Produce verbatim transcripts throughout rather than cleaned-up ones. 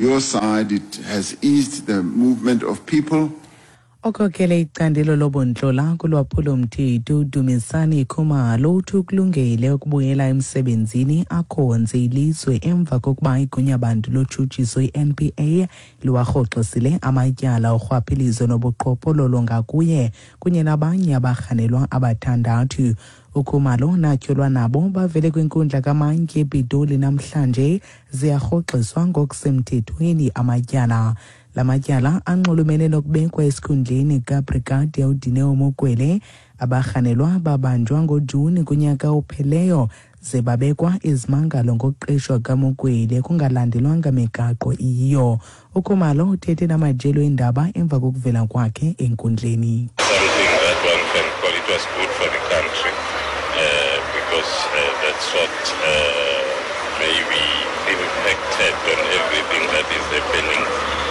Your side, it has eased the movement of people. Okhokele icandelo lobuntlola kulwaphulo-mthetho uDumisani Khumalo uthi ukulungele ukubuyela emsebenzini akhonze ilizwe emva kokuba igunyabantu lotshutshiso i-N P A liwarhoxisile amatyala orhwaphilizo nobuqhophololo ngakuye kunye nabanye abarhanelwa abathandathu. UKhumalo natyholwa nabo bavele kwinkundla kamantyi ePitoli namhlanje, ziyarhoxiswa ngokusemthethweni amatyala. La matyala anxulumene nokubekwa esikhundleni kaBrigadier uDineo Mokwele. Abarhanelwa babanjwa ngoJuni kunyaka opheleyo ze babekwa izimangalo ngokuqeshwa kaMokwele kungalandelwanga migaqo iyiyo. UKhumalo uthethe namajelo eendaba emva kokuvela kwakhe enkundleni. Something that one can call it was good for the country uh, because uh, that's what uh, maybe impacted on everything that is happening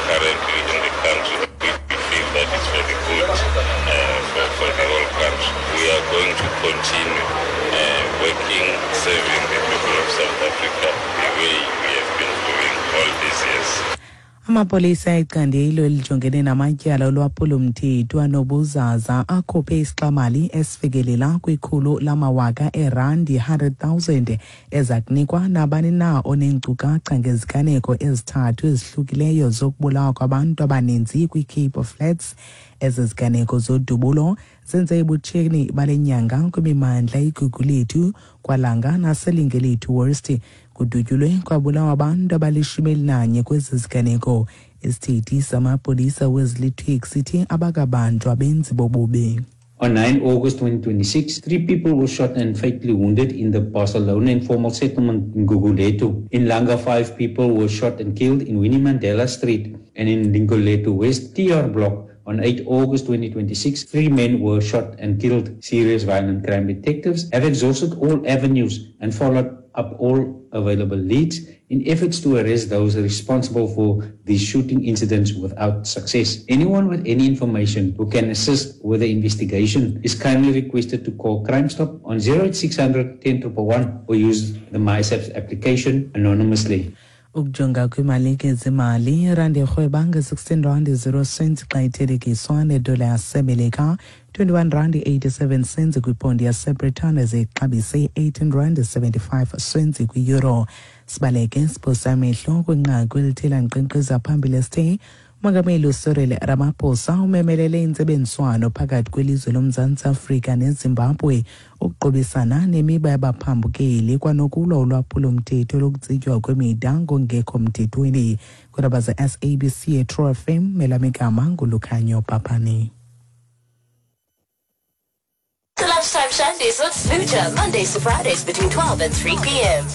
currently in the country. We, we feel that it's for the good uh, for, for the whole country. We are going to continue uh, working, serving the people of South Africa the way we have been doing all these years. Amapolisa ecandelo elijongene namatyala olwaphulo-mthetho anobuzaza akhuphe isixamali esifikelela kwikhulu lamawaka eerandi, one hundred thousand, eza kunikwa nabani na oneenkcukacha ngeziganeko ezithathu ezihlukileyo zokubulawa kwabantu abaninzi kwiCape Flats. Ezi ziganeko zodubulo zenze ebutsheni bale nyanga kwimimandla iGugulethu, kwaLanga naseLingelethu West. Kudutyulwe kwabulawa abantu abalishumi elinanye kwezi ziganeko. Isithethi samapolisa Wesley Twigg sithi abakabanjwa abenzi bobubi. On nine August twenty twenty-six, three people were shot and fatally wounded in the Barcelona informal settlement in Gugulethu. In Langa, five people were shot and killed in Winnie Mandela Street, and in Lingelethu West T R Block on eight August twenty twenty-six, three men were shot and killed. Serious violent crime detectives have exhausted all avenues and followed up all available leads in efforts to arrest those responsible for these shooting incidents without success. Anyone with any information who can assist with the investigation is kindly requested to call Crime Stop on zero eight six hundred ten one one or use the MySAPS application anonymously. Ukujonga kwimalike zemali, irandi irhweba nge-sixteen rand zero cents xa ithelekiswa nedola yaseMelika, twenty-one rand eighty-seven cents kwiponti yaseBritane, zixabise eighteen rand seventy-five cents kwi-euro. Sibaleke siphosa amehlo kwinqaku elithe lankqenkqeza phambili esithe umongameli uCyril Ramaphosa umemelele intsebenziswano phakathi kwelizwe loMzantsi Afrika neZimbabwe ukuqubisana nemiba yabaphambukeli kwanokulwa ulwaphulo-mthetho lokutsitywa kwemida ngongekho mthethweni. Kwiindaba ze-S A B C eTrue F M, elam igama nguLukhanyo Papani. The Lunchtime Shandies with Smooja, Mondays to Fridays between twelve and three p m.